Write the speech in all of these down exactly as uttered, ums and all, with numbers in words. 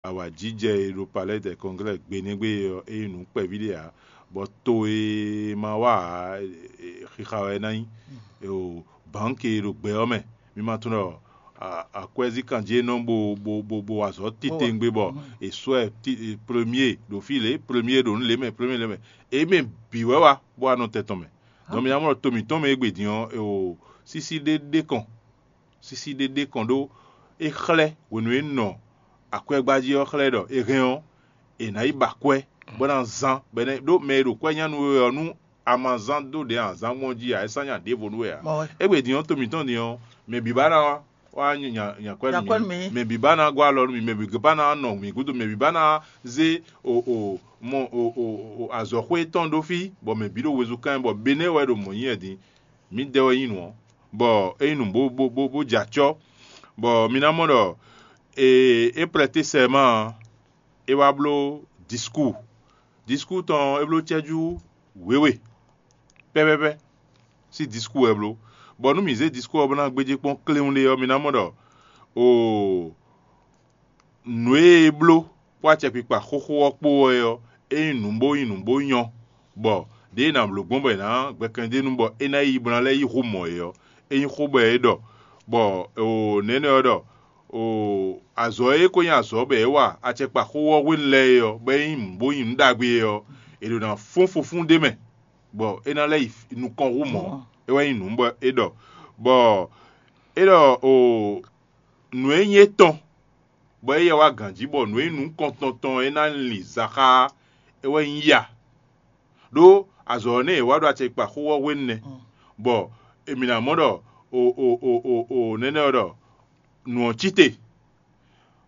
awǎjijɛ e ɖo Palais des Congrès gbe nɛ́ gbe ɔ́, é nyí nǔ kpɛví ɖé ǎ, bɔ to e ma wa ǎ, xixa wɛ é ná nyí. O bǎnki e ɖo gbɛ ɔ́ mɛ, mi ma tunwun ɖɔ akwɛ́zíkan jí é nɔ bo bo bo bo wa azɔ̌ titewungbe bɔ è sɔ́ ɛ premie ɖo fí lě, premie ɖo nǔ lě mɛ, premie lě mɛ, é mɛ bǐ wɛ wá bó wá nɔ tɛn tɔn mɛ. Dɔn mi ná mɔ ɖɔ to mǐtɔn mɛ égbé din ɔ́, sísí ɖé ɖé kɔn sísí ɖé ɖé kɔn ɖó é xlɛ́ hwenu e un nɔ akwɛ́gbá jí ɔ́ xlɛ́ ɖɔ è hɛn ɔ́, è nǎ yi ba akwɛ́ bó ná zán bɔ é ná ɖó mɛ e ɖo kwɛ́ nya nú we ɔ́, nú a ma zán dó ɖě azǎn gbɔn jí ǎ, é sán nya ɖěvo nú we ǎ. Égbé din ɔ́, to mǐtɔn din ɔ́, mɛ bǐ ba ná wá nya kwɛ́ nú mì, mɛ bǐ ba ná gɔ́ alɔ nú mì, mɛ bǐ ba ná nɔ mì gúdo, mɛ bǐ ba ná zé o o mɔ o o azɔ̌xwé tɔn ɖó fí, bɔ mɛ bǐ ɖo wezun kán bɔ Benɛ́ wɛ ɖo mɔ̌ nyí wɛ din. Mǐdɛɛ wɛ nyí nǔ ɔ́, bɔ é nyí nǔ bó bó bó bó jɛ acɔ́, bɔ mi ná mɔ ɖɔ è é prɛtɛ́ sɛma ɔ́, é wá bló disku. Disku tɔn ɔ́, é bló cɛ́jú wěwe pɛ́pɛ́pɛ́ sín disku wɛ bló. Bɔ nú mǐ zé disku ɔ́ bó ná gbéjé kpɔ́n kléwún ɖé ɔ́, mi ná mɔ ɖɔ oo nǔ e é bló kpó acɛkpikpa xóxó ɔ́ kpó wɛ ɔ́, é nyí nǔ bó nyí nǔ bó nyɔ́, bɔ ɖěe è nǎ bló gbɔn bɔ è nǎ gbɛkɛn d'é nu bɔ é ná yi bó ná lɛ́ yi xú mɔ̌ é ɔ́, é nyí xó bɔ é ɖɔ, bɔ nɛ̌nɛ ɔ́ ɖɔ azɔ̌ e ko nyí azɔ̌ bɔ é wa acɛkpa xó ɔ́ hwenu lɛ́ɛ é ɔ́, bɔ é nyí nǔ bó nyí nǔ ɖagbe é ɔ́, è ɖǒ ná fɔ́n fofún ɖ'é mɛ, bɔ é ná lɛ́ yi nukɔn hú mɔ̌. É wɛ nyí nǔ bɔ é ɖɔ, bɔ é ɖɔ nǔ e nyí étɔn bɔ éyɛ́ wá gǎn jí bɔ nǔ e nyí nǔkɔntɔn tɔn é ná lin zaxá é wɛ nyí ya. Ɖó azɔ̌ ɔ́ nɛ́ è wá ɖo acɛkpa xó ɔ́ hwenu nɛ́, bɔ èmǐ ná mɔ ɖɔ o o o o o nɛnɛ́ ɔ́ ɖɔ nǔ ɔ́ cí te.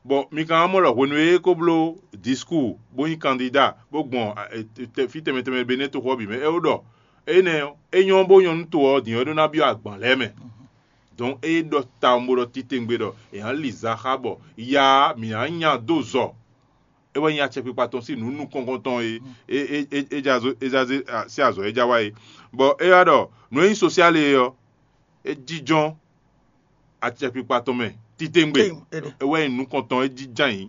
Bɔ mi ka wá mɔ ɖɔ hwenu e é ko bló disku bó nyí kandida bó gbɔn fí tɛnmɛ tɛnmɛ Benɛ́ toxo ɔ́ bǐ mɛ, é wó ɖɔ énɛ́ ɔ́, é nyɔ́ bó nyɔ́ nú to ɔ́ din ɔ́ é ɖó ná byɔ́ agban lɛ́ɛ mɛ. Dɔn é ɖɔ tawun bó ɖɔ titewungbe ɖɔ è nǎ li zaxá bɔ ya ɔ́, mǐ ná nya dó zɔ. É wɛ nyí acɛkpikpa tɔn sín nǔ nukɔntɔn tɔn e é é é é ja zó é ja zé sín azɔ̌ e ja wá é. Bɔ é wá ɖɔ nǔ e nyí sosiali é ɔ́, é jínjɔ́n acɛkpikpa tɔn mɛ titewungbe. É wɛ nyí nukɔntɔn é jínjɔ́n ayǐ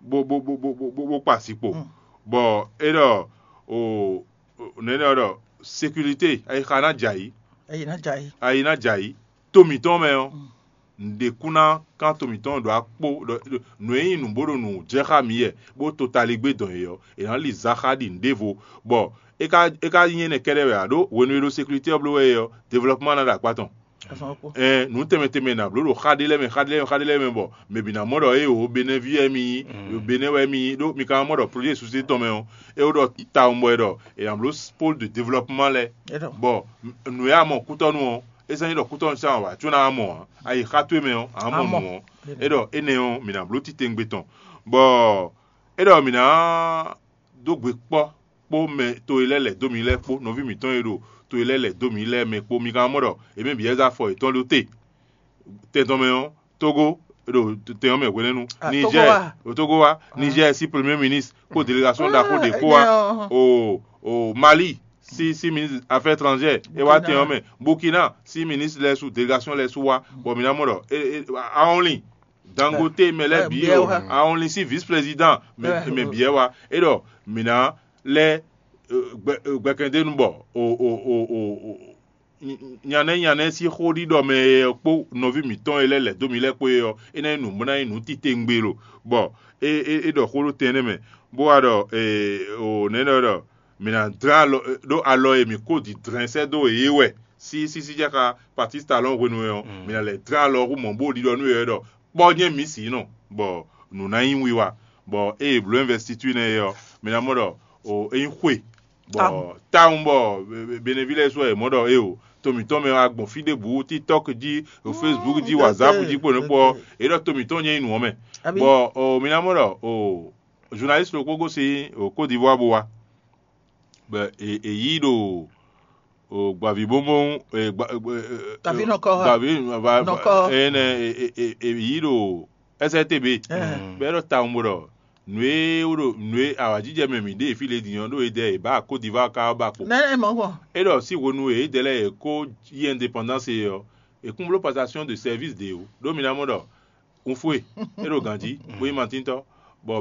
bó bó bó bó bó bó kpa asikpo. Bɔ é ɖɔ o nɛ̌ ɖɔ ɖɔ sekirite ayixa ná jɛ ayǐ. Ayi ná jɛ ayǐ. Ayi ná jɛ ayǐ. To mǐtɔn mɛ ɔ́, nǔɖé kún ná kán to mǐtɔn ɖo akpó ɖɔ nǔ e nyí nǔ bó ɖo nǔ jɛ xá mǐ yɛ bó to taligbé dɔn yě ɔ́, è nǎ li zaxá ɖi nǔɖévo, bɔ é ka é ka nyí énɛ́ kɛ́ɖɛ́ wɛ ǎ ɖó hwenu e ɖo sekirite ɔ́ bló wɛ é ɔ́, develɔpɔ́man ná ɖo akpá tɔn. Ɛn nǔ tɛnmɛ tɛnmɛ è nǎ bló ɖo xá ɖé lɛ́ɛ mɛ, xá ɖé lɛ́ɛ mɛ, xá ɖé lɛ́ɛ mɛ, xá ɖé lɛ́ɛ mɛ bɔ mɛ bǐ ná mɔ ɖɔ éeǒ Benɛ́ví wɛ mì nyí, Benɛ́ wɛ mì nyí ɖó mi ka ná mɔ ɖɔ projet susi tɔn mɛ ɔ́, é wó ɖɔ tawun bɔ è ɖɔ è nǎ bló pôle de develɔpɔ́man lɛ́ɛ, bɔ nǔ e a mɔ kútɔ́nú ɔ́, é sɛ́n nyí ɖɔ kútɔ́nú sín awǎ có ná mɔ ǎ, ayi xá towe mɛ ɔ́, ǎ mɔ nǔ ɔ́, é ɖɔ énɛ́ ɔ́, mǐ ná bló titewungbe tɔn, bɔ é ɖɔ mǐ ná dó gbe kpɔ́ kpó mɛ to e lɛ́ɛ lɛ̌ dó mǐ lɛ́ɛ kpó nɔví mǐtɔn e ɖo to e lɛ́ɛ lɛ̌ dó mǐ lɛ́ɛ mɛ kpó. Mi ka mɔ ɖɔ è mɛ bǐ wɛ zá afɔ yětɔn ɖó te. Tɛn tɔn mɛ ɔ́, Tógó ɖo tɛn ɔ́ mɛ hwenɛ́nu, Nizɛ́ɛ ɖo Tógó wá, Nizɛ́ɛ sín premier ministre kpó délégation ɖaxó ɖě kpó wá, o o Mali sín sín ministre affaires étrangères é wá tɛn ɔ́ mɛ, Burkina sín ministre lɛ́ɛ su délégation lɛ́ɛ su wá, bɔ mi ná mɔ ɖɔ é é Aɔnlin Dangote mɛ lɛ́ɛ bǐ o, Aɔnlin sín vice président mɛ bǐ wá, é ɖɔ mǐ ná lɛ́ gbɛkɛndénu bɔ o o o o nyanɛ́ nyanɛ́ sín xó ɖiɖɔ mɛ ɔ́ kpó nɔví mǐtɔn e lɛ́ lɛ̌ dó mì lɛ́ɛ kpó é ɔ́, é ná nyí nǔ bó ná nyí nǔ titewungbe lo, bɔ é é é ɖɔ xó ɖó tɛn énɛ́ mɛ, bó wá ɖɔ o nɛ̌ ɖɔ ɖɔ mǐ ná dlɛ́n alɔ ɖó alɔ e mǐ kó dǐndlɛ́n sɛ́ dó yě wɛ sísísí jɛ xá Patistalɔ́n hwenu é ɔ́, mǐ ná lɛ́ dlɛ́n alɔ hú mɔ̌ bó ɖiɖɔ nú yě wɛ ɖɔ kpɔ́ nyɛ mǐ sǐ nɔ, bɔ nǔ ná nyí wiwa, bɔ ée è blǒ investiture nɛ́ é ɔ́, mǐ ná mɔ ɖɔ o é nyí xwe, bɔ tawun bɔ Beneví lɛ́ɛ su wɛ è mɔ ɖɔ éeǒ, to mǐtɔn mɛ wá gbɔn fí ɖěbǔ, TikTɔk jí, o Facebook jí, WhatsApp jí kpo nǔ kpó ɔ́, é ɖɔ to mǐtɔn nyɛ nyí nǔ ɔ́ mɛ, bɔ o mǐ ná mɔ ɖɔ o journaliste ɖokpó gosín o Côte d'Ivoire bó wá, bɔ è yí ɖo gbavǐbóbó gbavǐ nɔkɔ gbavǐ nɔkɔ énɛ́ è yí ɖo S R T B, bɔ é ɖɔ tawun bó ɖɔ nǔ e wó ɖo nǔ e awǎjijɛ mɛ mǐ ɖe fí lě din ɔ́ ɖó edɛ è bǎ Côte d'Ivoire ka ɔ́ ba kpo. Nɛ ɛ mɔ gbɔn. É ɖɔ sín hwenu e édɛɛ lɛ́ɛ è kó yí indépendance é ɔ́, è kún bló passation de service ɖě ó, ɖó mi ná mɔ ɖɔ un fó e é ɖo gǎn jí bó nyí matíntɔ́.